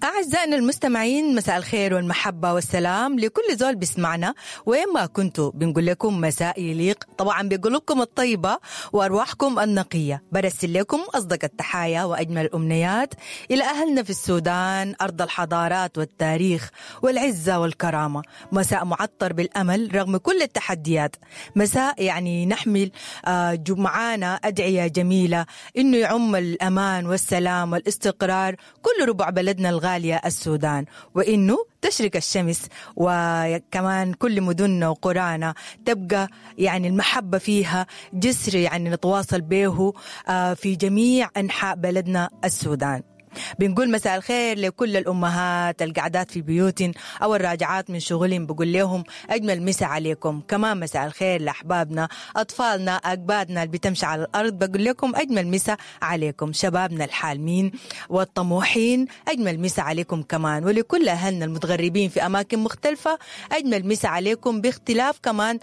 أعزائنا المستمعين، مساء الخير والمحبة والسلام لكل زول بيسمعنا وين ما كنتوا. بنقول لكم مساء يليق طبعا بقلوبكم الطيبة وأرواحكم النقية. برسل لكم أصدق التحايا وأجمل الأمنيات إلى أهلنا في السودان، أرض الحضارات والتاريخ والعزة والكرامة. مساء معطر بالأمل رغم كل التحديات، مساء يعني نحمل معانا أدعية جميلة إنه يعم الأمان والسلام والاستقرار كل ربع بلدنا الغالية السودان، وإنه تشرق الشمس وكمان كل مدننا وقرانا تبقى يعني المحبة فيها جسر يعني نتواصل به في جميع أنحاء بلدنا السودان. بنقول مساء الخير لكل الأمهات القعدات في بيوتن أو الراجعات من شغلهم، بقول لهم أجمل مساء عليكم. كمان مساء الخير لأحبابنا، أطفالنا، أكبادنا اللي بتمشي على الأرض، بقول لكم أجمل مساء عليكم. شبابنا الحالمين والطموحين أجمل مساء عليكم كمان، ولكل أهلنا المتغربين في أماكن مختلفة أجمل مساء عليكم باختلاف كمان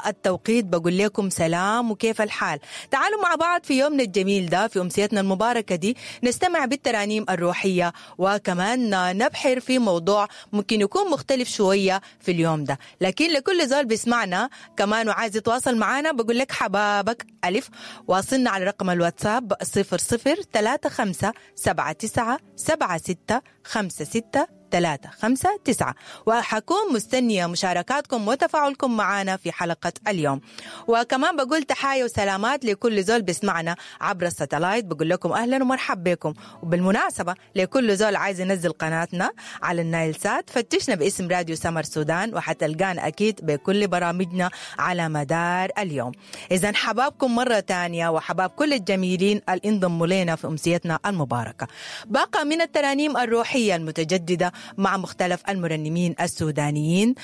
التوقيت. بقول لكم سلام وكيف الحال. تعالوا مع بعض في يومنا الجميل ده، في أمسيتنا المباركة دي، نستمع بالترانيم الروحية وكمان نبحر في موضوع ممكن يكون مختلف شوية في اليوم ده، لكن لكل زول بيسمعنا كمان وعايز يتواصل معنا بقول لك حبابك ألف، واصلنا على رقم الواتساب 00 35 79 76 56 359، وحكون مستنية مشاركاتكم وتفاعلكم معنا في حلقة اليوم. وكمان بقول تحايا وسلامات لكل زول بيسمعنا عبر الساتلايت، بقول لكم أهلا ومرحبا بكم. وبالمناسبة لكل زول عايز ينزل قناتنا على النايل سات، فتشنا باسم راديو سمر سودان وحتلقانا أكيد بكل برامجنا على مدار اليوم. إذا حبابكم مرة تانية وحباب كل الجميلين اللي انضموا لنا في أمسيتنا المباركة. باقة من الترانيم الروحية المتجددة مع مختلف المرنمين السودانيين،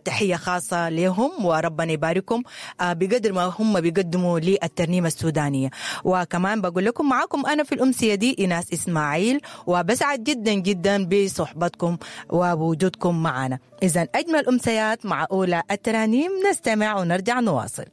تحية خاصة لهم وربنا يباركهم بقدر ما هم بيقدموا للترنيمة السودانية. وكمان بقول لكم معاكم أنا في الأمسية دي إيناس إسماعيل، وبسعد جدا جدا بصحبتكم ووجودكم معنا. إذن أجمل أمسيات مع أولى الترانيم، نستمع ونرجع نواصل.